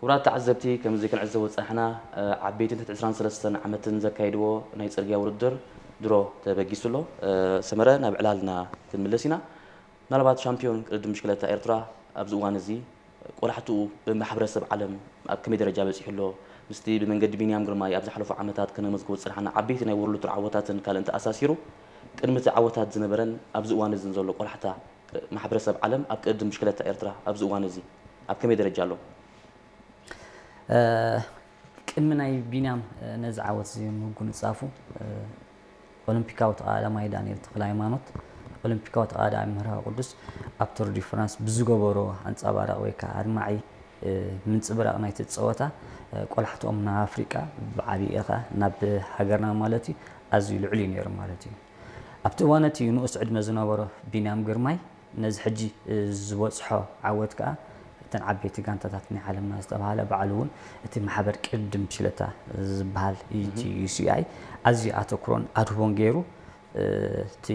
ክቡራት ተዓዘብቲ፣ ከምዚ ክንዕዘቦ ዝጸናሕና፣ እ፣ ዓበይቲ ትሕቲ ዕስራን ሰለስተን ዓመትን ዘካየድዎ ናይ ጽርግያ ውድድር ድሮ ተበጊሱ ኣሎ። እ፣ ሰመረ፣ ናብ ዕላልና ክንምለስ ኢና። ምናልባት ሻምፒዮን ቅድድም ብሽክለታ ኤርትራ ኣብዚ እዋን እዚ ቆላሕትኡ ብማሕበረሰብ ዓለም ኣብ ከመይ ደረጃ በጺሑ ኣሎ? ምስቲ ብመንገዲ ቢንያም ግርማይ ኣብ ዝሓለፉ ዓመታት ከነመዝግቦ ዝጸናሕና ዓበይቲ ናይ ወርልድ ቱር ዓወታትን ካልእን ተኣሳሲሩ፣ ቅድሚ እቲ ዓወታት ዝነበረን ኣብዚ እዋን እዝን ዘሎ ቆላሕታ ማሕበረሰብ ዓለም ኣብ ቅድድም ብሽክለታ ኤርትራ ኣብዚ እዋን እዚ ኣብ ከመይ ደረጃ ኣሎ? እ፣ ቅድሚ ናይ ቢንያም፣ እ፣ ነዚ ዓወት እዚ ምጉንጻፉ፣ እ፣ ኦሎምፒካዊ ተቐዳዳማይ ዳንኤል ተኽለሃይማኖት፣ ኦሎምፒካዊ ተቐዳዳማይ መርሃዊ ቅዱስ ኣብ ቱር ዲ ፍራንስ ብዝገበሮ ኣንጸባራቒ ወይ ከዓ ኣድማዒ፣ እ፣ ምንጽብራቕ ናይቲ ጸወታ፣ እ፣ ቆላሕትኦም ናብ ኣፍሪቃ ብዓብዪ ኢኻ ናብ ሃገርና ማለት እዩ ኣዝዩ ልዑል እዩ ነይሩ ማለት እዩ። ኣብቲ እዋን እቲ ንኡስ ዕድመ ዝነበሮ ቢንያም ግርማይ ነዚ ሕጂ፣ እ፣ ዝበጽሖ ዓወት ከኣ እተን ዓበይቲ ጋንታታት ናይ ዓለምና ዝተባሃለ ባዕሉ እውን እቲ ማሕበር ቅድድም ብሽክለታ ዝበሃል እቲ ዩ ሲ ኣይ ኣዝዩ ኣተኩሮን ኣድህቦን ገይሩ፣ እ፣ እቲ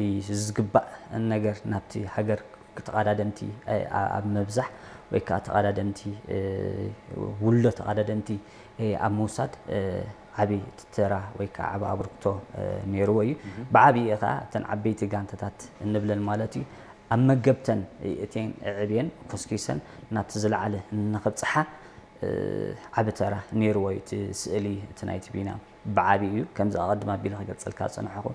ዝግባእ ነገር ናብቲ ሃገር ተቐዳደምቲ፣ እ፣ ኣ-፣ ኣብ ምብዛሕ ወይ ከዓ ተቐዳደምቲ፣ እ፣ ውልዶ ተቐዳደምቲ፣ እ፣ ኣብ ምውሳድ፣ እ፣ ዓቢ ተራ ወይ ከዓ ዓቢ ኣበርክቶ፣ እ፣ ነይርዎ እዩ። ብዓብዪ ከዓ እተን ዓበይቲ ጋንታታት እንብለን ማለት እዩ ኣብ መገብተን እተን ኣዕብየን ኮስኪሰን ናብቲ ዝለዓለ ንኽብጽሓ፣ እ፣ ዓቢ ተራ ነይርዎ እዩ። እቲ ስእሊ እቲ ናይቲ ቢንያም ብዓቢ እዩ። ከምዚ ኣቐድም ኣቢለ ክገልጸልካ ዝጸናሕኩ